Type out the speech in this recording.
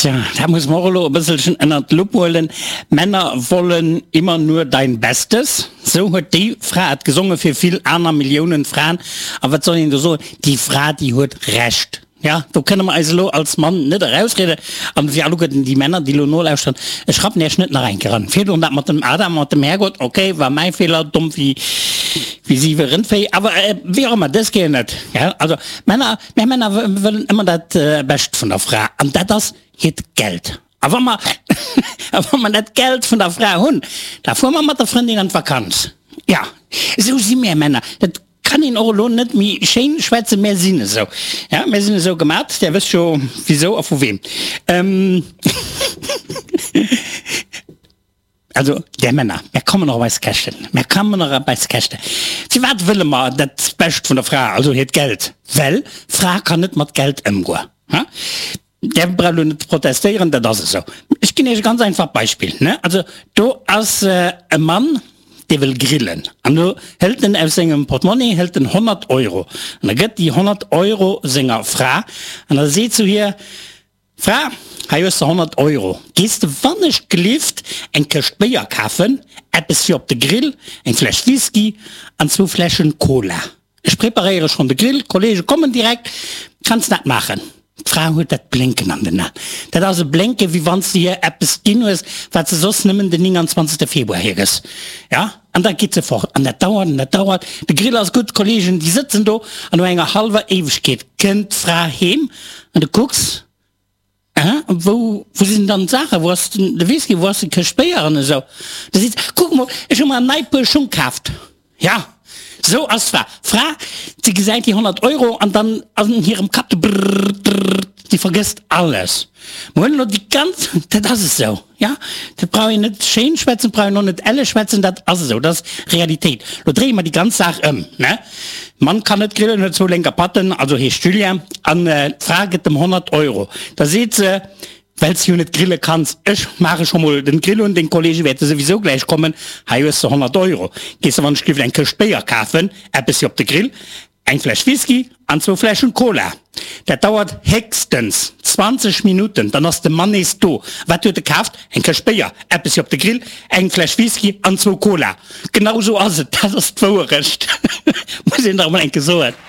Tja, dat muss mer och elo e bësselchen ënnert d'Lupp huelen. Männer wollen immer nur dein Bestes, sou huet déi Fra et gesonge fir vill aner Milliounen Fraen. A wat soll een do soen, déi Fra, déi huet Recht. Ja, do kënne mer eis elo als Mann net erausrieden. An fir alleguerten déi Männer, déi elo nolauschteren, ech rappen Iech net nach eng Kéier an. Virdrun dat mat dem Adam, mat dem Härgott, okay, war mäi Feeler, domm wéi siwe Rëndvéi, awer wéi och ëmmer, dës Kéier net. Also Männer, Mär Männer wëllen ëmmer dat Bescht vun der Fra, an dat ass hiert Geld. A wa mer, a wa mer dat Geld vun der Fra hunn, da fuere mer mat der Frëndin an d'Vakanz. Jo, esou si mär Männer. Dat kann een och elo net méi schéin schwätzen, mär sinn esou. Ja, mär sinn esou gemat. Där wësst jo wisou a vu weem. Also, där Männer, mär kommen och op eis Käschten, mär kommen och op eis Käschten. Firwat wëlle mer dat Bescht vun der Fra, also hiert Geld? Well d'Fra kann net mat Geld ëmgoen. Ha? Där braucht elo net ze protestéieren, dat ass esou. Ech ginn Iech e ganz einfacht Beispill, ne? Also, do ass e Mann, dee wëll grillen. An do hëlt en aus sengem Portmonni hëlt en 100 Euro. An da gëtt déi 100 Euro senger Fra an da seet zu hir, Fra, hei hues de 100 Euro, gees de wannechgelift eng Këscht Béier kafen, eppes fir op de Grill, eng Fläsch Whisky an zwou Fläschen Cola. Ech preparéiere schonn de Grill, d'Kollege kommen direkt, kanns dat maachen? D'Fra huet dat Blénken an den Aen. Dat ass e Blénken, wéi wann s de hir eppes ginn hues, wat se soss nëmmen den 29. Februar hir gëss. Ja, an da geet se fort. An dat dauert an dat dauert. De Grill ass gutt, d'Kollegen, déi sëtzen do an no enger hallwer Éiwegkeet kënnt d'Fra heem An du kucks, Äh, wou, wou sinn dann d'Saachen? Wou ass den, de Whisky, wou ass déi Këscht Béier an esou? Da seet se, Kuck mol, ech hu mer en nei Puer Schung kaaft. Ja, esou ass d'Fra. D'Fra, déi gesäit déi 100 Euro an dann an hirem Kapp, brrr, drrr, déi vergësst alles. Mer hunn elo déi ganz, dat ass esou. Ja, dat brauch een net schéin schwätzen, brauch een och net elle schwätzen, dat ass esou, dat ass Realitéit. Lo dréie mer déi ganz Saach ëm, ne? Mann kann net grillen, huet zwou lénker Patten, also heescht Julien, an d'Fra gëtt em 100 Euro. Da seet se, Well s de jo net grille kanns, ech maache scho mol den Grill un, deng Kollege wäerte souwisou gläich kommen, hei hues de 100 Euro, gees de wann ech giff eng Këscht Béier kafen, eppes fir op de Grill, Eng Fläsch Whisky an zwou Fläschen Cola. Dat dauert héchstens 20 Minutten, dann ass de Mann nees do. Wat huet e kaaft? Eng Këscht Béier, eppes fir op de Grill, eng Fläsch Whisky an zwou Cola. Genau esou ass et, dat ass d'Wouerecht, muss een dach emol eng Kéier soen.